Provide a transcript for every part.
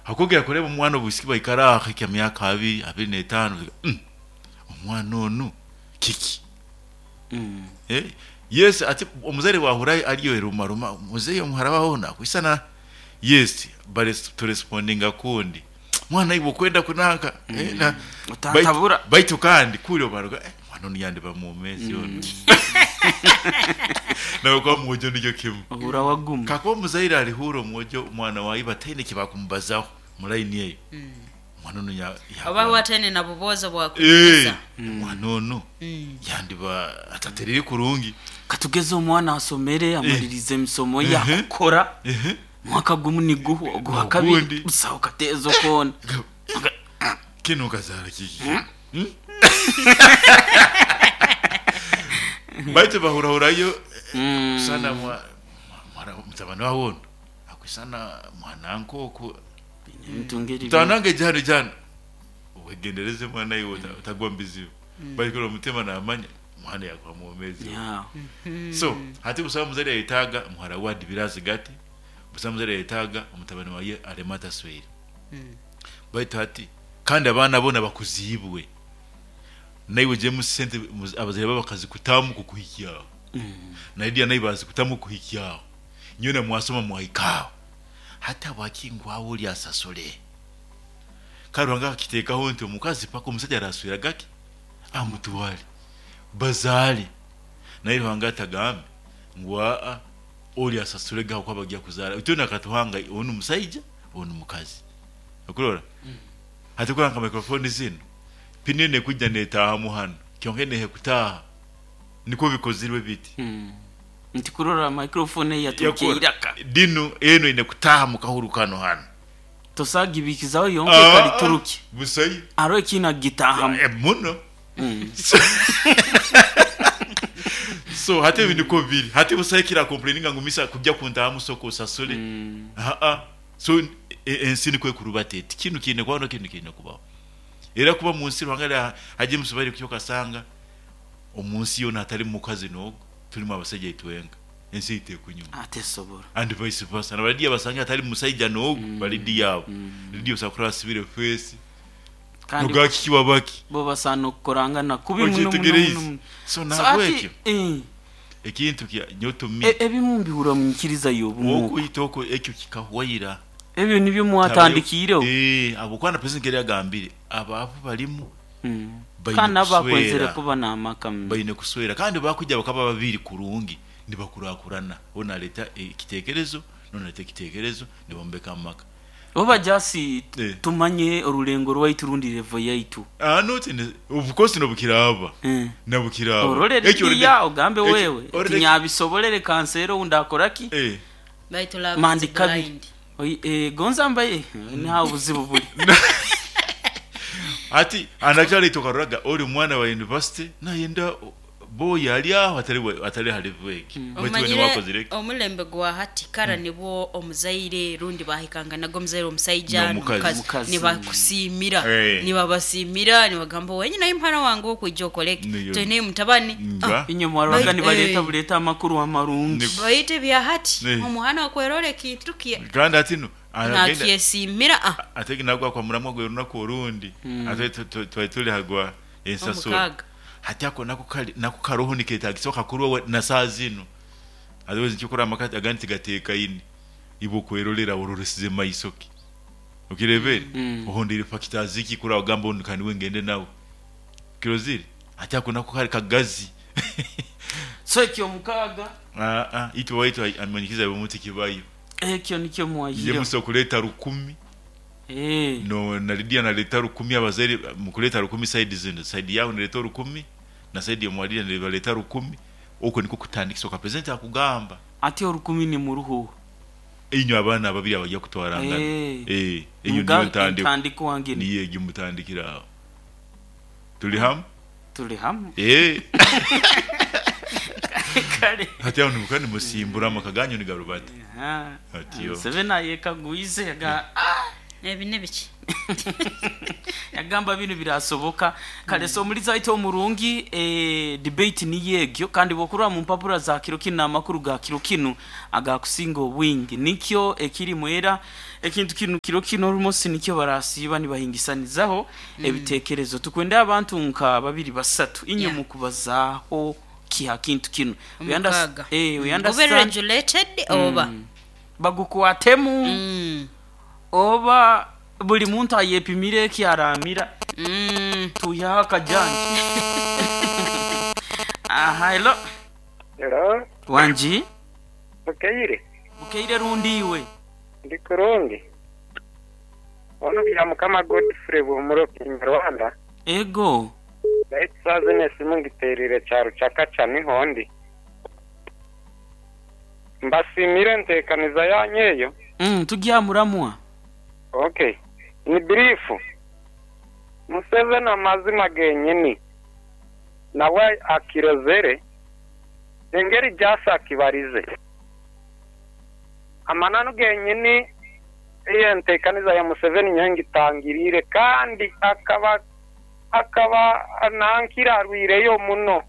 Hakwongera kureba omwana obwisiki baikara aho akahikya myaka abiri, 25, omwana onu kiki? Yes, ati omuzaire bwahurra ariyo erumaruma, muzeeyi omuhara wawe onu akwisana, yes, turespondinga kundi, mwana iwe okwenda kunanka, Otantabura. Baitu kandi kuri obaruga, omwana onu yandiba mwomeezi onu. Nawe kuba mwojo nikyo kimu. Ohurra waguma. Kakuba omuzaire arihuura omwojo omwana wa iba ataine eki bakumubazaho mu line eyo, omwana onu Oba we ataine na buboozi obwakunyumiza. Omwana onu yandiba ataterire kurungi. Katugeze omwana asomere, amaliriize emisomo ye, akukora, mwaka gumu niguhwa, ogwa kabiri Ogundi. busaho kateezo koona. Kinu okazaara kiki? Baitu bahurahurayo kusana mutabani wawe onu akwisana mwananka oku. Ebintu ngeri Mutabani wange ija hanu, ija hanu. Wegendereze mwana iwe otagwa omu bizibu. Baitu omu mutima namanya omwana yakuba mwomeezi. So hati busaho omuzaire ayetaaga muhara we adibire azigati, busaho omuzaire ayetaaga omutabani waye aleme ataswere. Baitu hati kandi abaana boona bakuziibwe, naiwe ogyemu sente abazaire baawe bakazikutamu kukuhikyaho, na Lydia naiwe baazikutamu kukuhikyaho, nyowe mwasoma mwahika aho. Hati habwaki ngu awe ori asasule? Kare Ruhanga akakiteekaho nti omukazi paka omusaija arasweraga ki? Amutware bazaare. Naye Ruhanga atagambe ngu aa ori asasurege ahabw'okuba bagya kuzaara. Itwena akatuhanga onu musaija onu mukazi. Okurora? Hati kurora nka microphone zinu, pini enu ekwija netaahamu hanu, kyonka enu ehekutaaha. Nikwo bikozirwe biti. Nti kurora microphone eyi yaturukya Yakora. eiraka. Dinu enu eine kutaaha mu kahuru kanu hanu. Tosobola kugibiikizaho yonka ekaliturukya. Busayo. Haroho ekiine kugitaahamu. Muno. So hati ebi nikwo biri. Hati busaho ekira complaininga ngu misa kujja kuntaahamu sooka osasule. Haa. So ensi nikwo ekurubata eti. Kinu kiine kubaho na kinu kiine kubaho. Era kuba omu nsi Ruhanga hajya emisubari kuki okasanga omu nsi yoona hatarimu mukazi n'ogu, turimu abasaija itwenka. Ensi ei tekunyuma. Tesobora. And vice versa. Na ba Lydia basange hatarimu musaija n'ogu, ba Lydia abo. Lydia osobola kurora asibire face. Kandi Noga kiki wabaki? bo basaana okukorangana kubi muno muno muno Okyetegereize? muno. So So nahabwekyo ati eh, ekintu kya nyowe to me ebimu mbihurra omu nyikiriza y'obumu okwo. Okuhita okwo ekyo kikahwaira. Ebyo nibyo mwatandikiireho? Habwokuba na president nkeri yagambire abaavu barimu baine Kandi nabo bakwenzere kuswera. kuba n'amaka. Baine kuswera kandi bakwija bakaba babiri kurungi nibakurakurana onu naleeta ekitekerezo n'onu naleeta ekitekerezo nibombeka amaka. Oba just tumanye orulengo rwaitu rundi level yaitu. Not in, of course nobukiraaba nabukiraaba. Orole Ekyo Lydia ogambe ekyo wewe already tinyabisobolere kanseere ou ndakora ki? Baitu love is Mandi kabiri. blind. Gonza mbaye niho obuzibu buri. Hati and actually itwe okaroraga ori mwana wa university nayenda boy ari aho atari atari ha level egi. Baitu iwe Omanyire niwakozire ki? omulembe gwa hati kara nibwo omuzaire rundi bahikanganaga omuzaire omusaija N'omukazi. n'omukazi Omukazi. nibakusiimira nibabasiimira nibagamba wenyine oyi muhara wange okwija okore ki Niyo. toine mutabani. Nga. Inywe mwaroraga nibaleeta buleeta amakuru amarungi. Baitu ebya hati omuhana okwerora ekintu kye Kandi hati nu aragenda nakyesiimira ah. Ate nagwa kwa muramwa gwe orunaku orundi ate twali turi hagwa ensasura. Omukaaga. Hati ako nako kari nako karoho niketagisa okakorwa na saaha zinu otherwise nikyo okurora amaka agandi tigatekaine iwe okwerorera ororesize maiso ki okirebere ohondeire factors ki kurora ogamba onu kaniwe ngende nawe okirozire hati ako nako kari kagazi. So ekyomukaaga. Aa itwe owaitu amanyikize omu tikibayo. Ekyo nikyo Nje mwaihireho. musa okuleta rukumi no na Lydia naleta rukumi abazaire mukuleta rukumi side zinu side yawe neleta orukumi na side ya Lydia nibaleta rukumi okwo nikwo kutandikisa oka president akugamba. Ati orukumi nimuruha oha? Inywe abaana ababiri abagya kutwarangana eyo niyo ntandikwa Entandikwa nginu. Niyo egyo mutandikire aho. Tuli hamu? Tuli hamu. Kale. Hati aho nimuka nimusimbura amaka ganyu nigarubata. Atyo. Museveni ayekagwize aga ah! Ebi nibiki? Yagamba binu birasoboka. Kale, so omuliza waitu omurungi, debate niyo egyo, kandi bwokurora mu mpapura za kiro kinu n'amakuru ga kiro kinu agakusinga obwingi nikyo ekirimu. Era ekintu kinu kiro kino orumosi nikyo barasiiba nibahingisanizaho ebitekerezo. Tukwenda abantu nka babiri basatu inywe mukubazaaho kiha kintu kinu. We Omukaaga. We Gube understand regulated oba bagukwatemu oba buli muntu ayepimire eki aramira. Tuihaho akajanja. Aha, hello. Hello, Wangi. Bukeire. Bukeire rundi iwe? Ndi kurungi. Ono bya Mukama Godfrey Buhumuro Kinyarwanda. Ego. Baitu saaza n'esimu ngiterire kyaro kyakaca niho ndi. Mbasiimire enteekaniza yanyu eyo. Tugyamuramwa. Okay. Ni brief. Museveni amazima genyini nawe akirozere engeri gyasa akibarize. Amananu genyini eyo enteekaniza ya Museveni nyowe ngitangiriire kandi akaba nankira arwireyo muno.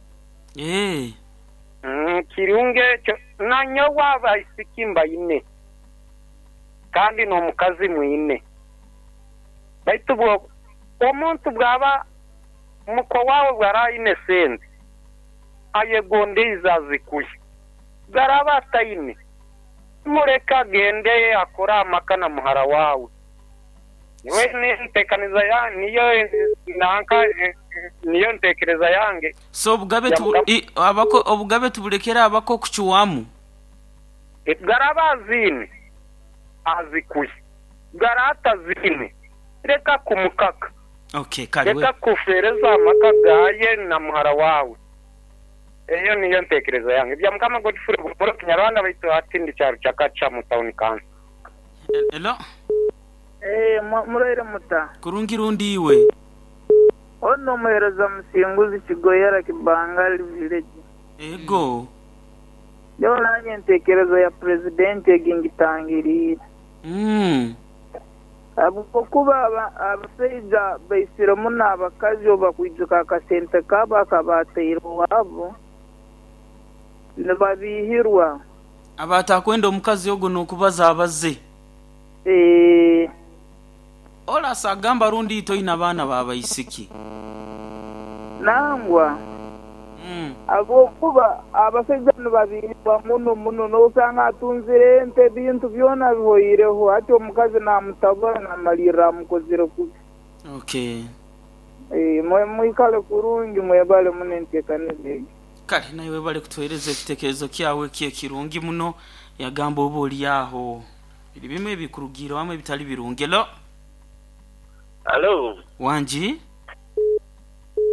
Kirungi ekyo nanyowe abaisiki mbaine kandi n'omukazi mwine. Baitu bwo omuntu bwaba muko wawe bwara aine sente ayegondeize azikuye, garaba ataine mureka agende akore amaka na muhara wawe. Niwe nentekaniza ya niyo nanka niyo ntekereza yange. So obugabe Ya abako obugabe tubulekera abako kuchuwamu. Garaba azine azikuye, garata azine reka kumukaka. Okay, kale reka kufereza amaka gaye na muhara wawe. Eyo niyo ntekereza yange. Bya Mukama Godfrey Buhumuro Kinyarwanda baitu atindi kyaro kyakaca mu town council. Hello. Muraire muta. Kurungi rundi iwe. Ono muhereza musinguzi Kigoyera Kibangali village. Ego. Yo nanye ntekerezo ya president egingitangirire. Ahabwokuba abasaija baisire muno abakazi obakwijuka akasente kabo akabateire owabo nibabihirwa. Abatakwenda omukazi ogwo n'okubaza abaze. Olasa agamba rundi toyina baana babaisiki. Nangwa. Ahabwokuba abasaija nibabihirwa muno muno n'osanga atunzire ente ebintu byona bihoireho hati omukazi namutabura namalirra amukozire kubi. Okay. Mwikale kurungi mwebale muno enteekaniza egi. Kale nawe bale kutuhereza ekitekerezo kyawe kyekirungi muno. Yagamba oba oli aho biri bimwe bikurugiire wamwe bitali birungi. Hello. Hello. Wangi.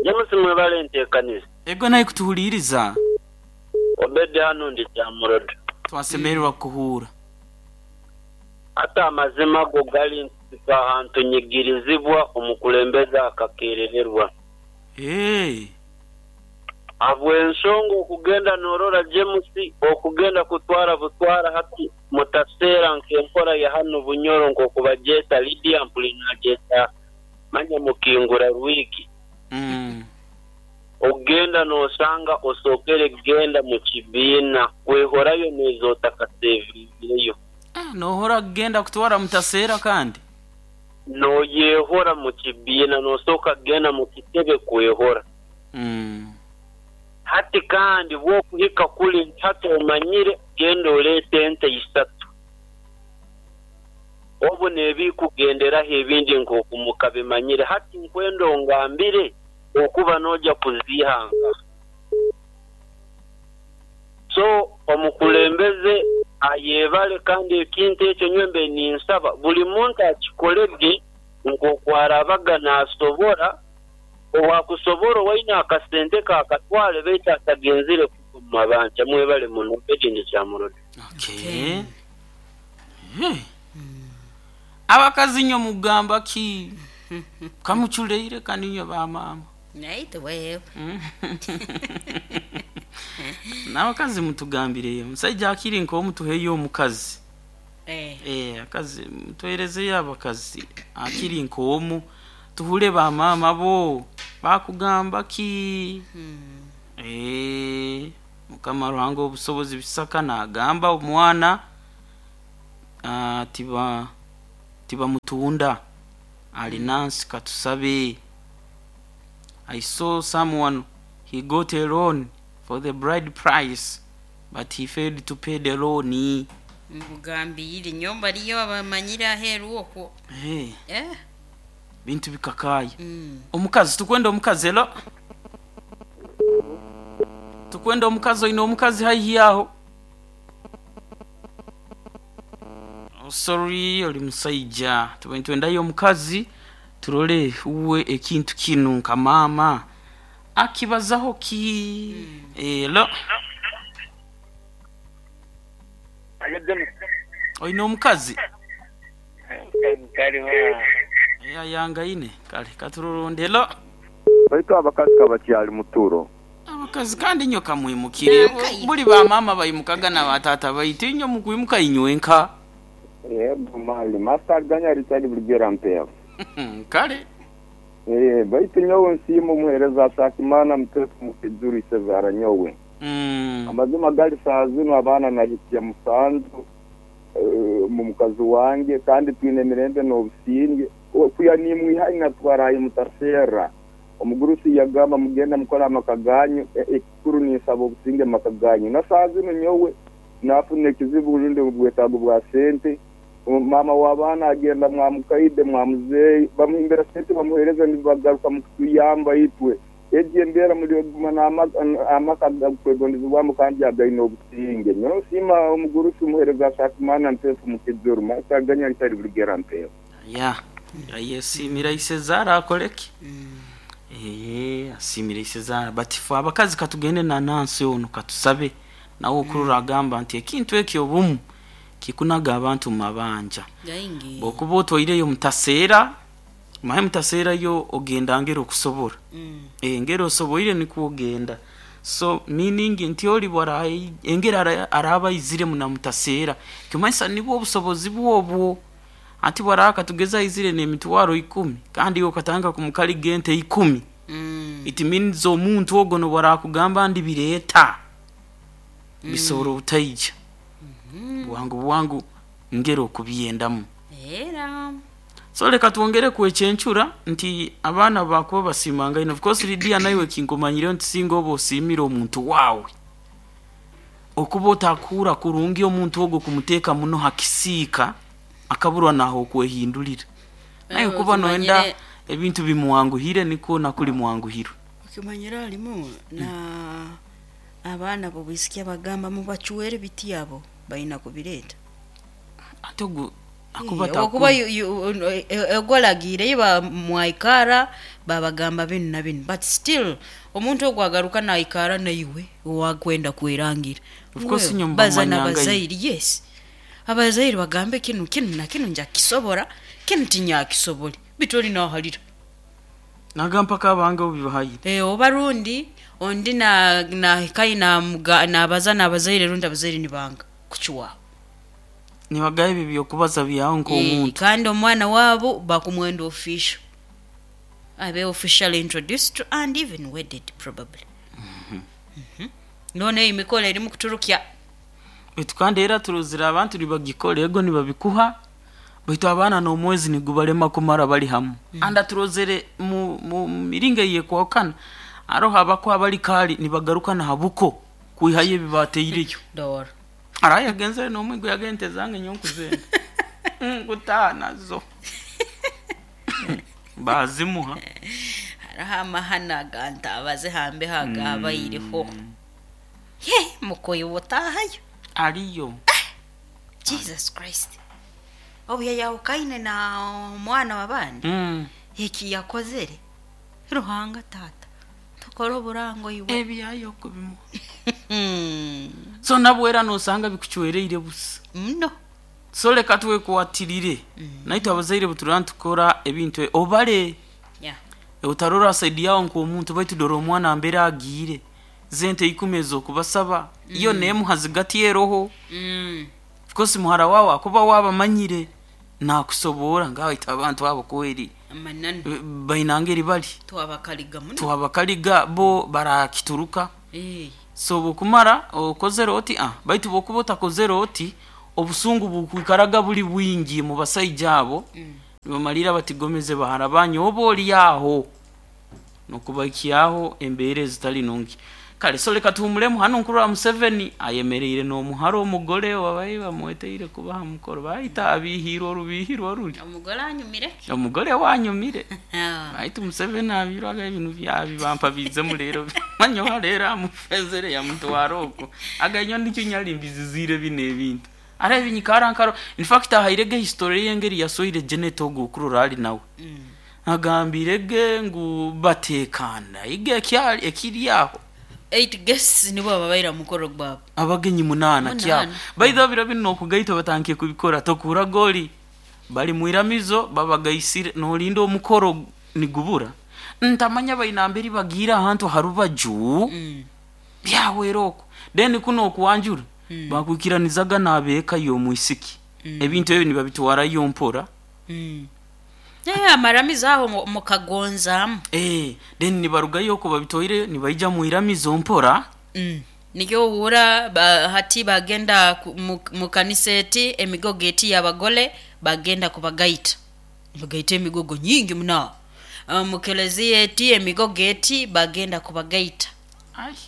James mwebale enteekaniza. Ego naye kutuhuliriza. Obedi hano ndi Kyamurodo. Twasemererwa kuhuura. Ate amazima go gali nti ahantu nyigirizibwa omukulembeze akakerererwa. Habw'ensonga okugenda norora James okugenda kutwara butwara hati mutaseera nk'enkora ya hano Bunyoro nk'okubagyeta Lydia mpuli nagyeta manya mukingura rwigi. Ogenda nosanga osokere genda mu kibiina kwehorayo nezootakasevingireyo. Nohora kugenda kutwara mutaseera kandi? Noyehora mu kibiina nosooka kugenda mu kitebe kwehora. Hati kandi bw'okuhika kuli nti hati omanyire genda oleete ente isatu. Obu neebikugenderaho ebindi nk'okumuka bimanyire. Hati nkwenda ongambire okuba noja kuzihanga. So omukulembeze ayebale kandi ekintu ekyo nywembe ninsaba buli muntu akikolege nk'okwarabaga nasobora owakusobora owaine akasente kakatwale baitu atagenzire mu mabanja. Mwebale muno Obedi Kyamurodo. Okay. Abakazi nyo mugamba ki kamuchuleire kandi nyo ba mama. Naite wewe. N'abakazi mutugambireyo. Omusajja akiri nk'omutuheyo omukazi. Akazi mutwerezeyo abakazi akiri nk'omu tuhure bamaama bo bakugamba ki. Mukama Ruhanga obusobozi bisaka nagamba omwana tibamutunda ali nansi katusabe. I saw someone, he got a loan for the bride price, but he failed to pay the loan. Nkugambire nyomba liyo abamanyire aheeru okwo. Hey. Bintu bikakaye. Omukazi tukwenda omukazi elo. Tukwenda omukazi oine omukazi haihi aho. Oh, sorry oli musaija. Twendayo omukazi turole uwe ekintu kinu nka mama akibazaho ki. Elo. Oine omukazi? Yangaine kale katururunde elo. Baitu abakazi kabakyali muturo. Abakazi kandi nyo kamwimukire. Buli ba mama bayimukaga na batata baitu inyo mukwimuka inywenka. Yego mali master ganya Richard Brigera mpeo. Kale. Baitu nyowe nsiima omuheereza Ashakimana mutefu mukijuru isezara nyowe. Amazima gali saa zino abaana nahikya musanju mu mukazi wange kandi twine emirembe n'obusinge. Kuya nimwihai natwarayo mutaseera. Omugurusi yagamba mugenda mukora amaka ganyu, ekikuru ninsaba obusinge maka ganyu. Na saa zino nyowe nafuna ekizibu rundi obwetaago bwa sente. Mama w'abaana agenda mwamukaide mwamuzeeyi bamuhimbira sente bamuheereza nibagaruka mukutuyamba itwe. Egi embeera muri oguma amaka gakwegondezebwamu kandi againe obusinge. Nyowe nsiima omugurusi omuheereza Ashakimana ntefu mukijuru maka ganya ntari Brigera mpeo. Ya yesimira isezara akoleki. Asimira isezara batifu abakazi katugende na nansi ono katusabe nawe okurura agamba nti ekintu ekyo obumu kikunaga abantu mabanja. Bokuba otwaireyo mutaseera mahe mutaseera yo ogenda ngero okusobora. Ngero osoboire nikwo ogenda. So meaning nti oli bwara engera araba izire muna mutaseera kimaisa nibwo obusobozi bwobwo. Ati bwaraka tugeza izire n'emitwaro 10 kandi okatanga kumukali gente 10. It means omuntu ogo no bwarakugamba ndi bireeta. Bisobora obutaija. Bwangu bwangu ngero okubyendamu. Era. So leka tuongere kwechenchura nti abaana bakuba basimanga ino. Of course Lydia naiwe kinkomanyire nti singa oba osimira omuntu wawe. Okuba otakura kurungi omuntu ogo kumuteeka muno hakisiika akaburwa naho okwehindulira. Naye kuba noenda ebintu bimwanguhire niko nakuli mwanguhiro. Ukimanyira alimu na abaana bobisikia bagamba mubachuere biti yabo baina kubireta. Ate ogu okuba egolagire iba mwaikara babagamba binu na binu, but still omuntu ogwagaruka naikara naiwe owakwenda kwerangira. Of course nyumba bazana abazairi, yes. Abazairi bagambe kinu kinu na kinu njakisobora, kinu tinyakisobole. Bitoli nahalira. Nagamba kabange obibahaye. Obarundi ondi na kai na bazana abazaire rundi abazaire nibanga kuchwa. Nibagaye bibyo kubaza byawo nk'omuntu. Kandi omwana wabo bakumwenda official. Abe officially introduced and even wedded probably. None imikolo eri mukuturukya. Baitu kandi era turuzira abantu nibagikora ego nibabikuha. Baitu abaana n'omwezi nigubalema kumara bali hamu. Anda turozere mu miringa yekwakana. Aroho abako abali kali nibagaruka na habuko kuihaye bibateireyo. Dor. Araya genzere n'omwigo yagente zange nyonkuzenda. Ngutana zo. Bazimuha. Haraha amahana ganta abaze hambe hagabayireho. Ye mukoyo wotahayo. Ariyo. Jesus Christ. Obuya yawukaine na omwana w'abandi. Eki yakozere. Ruhanga tata. Tukora oburango iwe. Ebyayo kubimu. So nabwera nosanga bikuchwereire busa. No. So leka twekwatirire. Naitwe abazaire buturana tukora ebintu obale. Yeah. Utarora side yawo nk'omuntu baitu dora omwana mbere agiire. Zente 10 ez'okubasaba. Iyo nemuhazigati eroho. Of course muhara wawe akuba wabamanyire nakusobora ngaita abantu abo kweri Amananu. Bainangeri bali Twabakaliga muno. Twabakaliga bo barakituruka. So bokumara okozere oti baitu bokuba otakozere oti obusungu bukwikaraga buli bwingi mu basaija abo. Nibamalira batigomeze bahara banyu oba oli aho nokubaikiaho embeera ezitali nungi. Kale so leka tuhumulemu hano. Nkuru wa Museveni ayemereire n'omuhara omugole wabaye bamweteire kubaha mukoro baita abihirwa orubihirwa ruli. Omugole anyumire. Omugole wanyumire. Baitu Museveni abirwaga ebintu byabi bampa bizemu rero manyoha rero amufezere yamutwara okwo aganyo nikyo nyali mbizizire bino ebintu ara binyikara nkaro. In fact ahairege history yengeri yasoire Janet ogu okurora ali nawe. Agambirege ngu batekana ige ekyali ekiri aho. 8 guests nibo babaira mukoro gwabo. Abagenyi 8 kyabo. 8. By biro bino okugaita batankiye kubikora tokura goli bali mwiramizo babagaisire nolinda omukoro nigubura ntamanya bainamberi bagira ahantu harubaju. Byawera okwo then kuno okuwanjura bakwikiranizaga n'abeeka y'omwisiki. Ebintu ebyo nibabitwarayo mpora. Amaramizo aho mukagonzamu. Then nibarugayo okwo babitoireyo nibaija mwiramizo mpora. Nikyo ohura hati bagenda mu kanisa eti emigogo eti y'abagole bagenda kubagaita bagaita emigogo nyingi muno. Mu keleziya eti emigogo eti bagenda kubagaita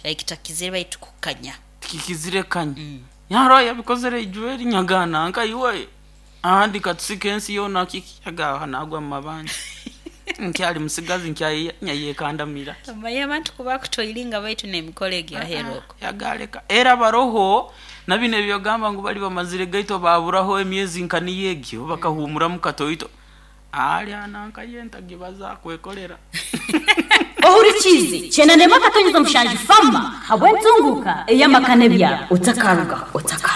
ekitakizire baitu kukanya. Tikikizire kanya. Yaro yabikozere ijweri nyagana nka iwe ahandi katusika ensi yoona kiki yagaha nagwa mu mabanja nkyali musigazi nkyayekandamira. Omaye abantu kuba kutoiringa baitu n'emikoro egi aheeru okwo. Yagaleka era baroho na bino ebyogamba ngu bali bamazire gaito baburaho emyezi nka niyo egyo bakahumuramu katoito ali ananka yentagi baza kwekolera. Ohurikize 97.7 fama habwentunguka eyamakane bya otakaruga otaka.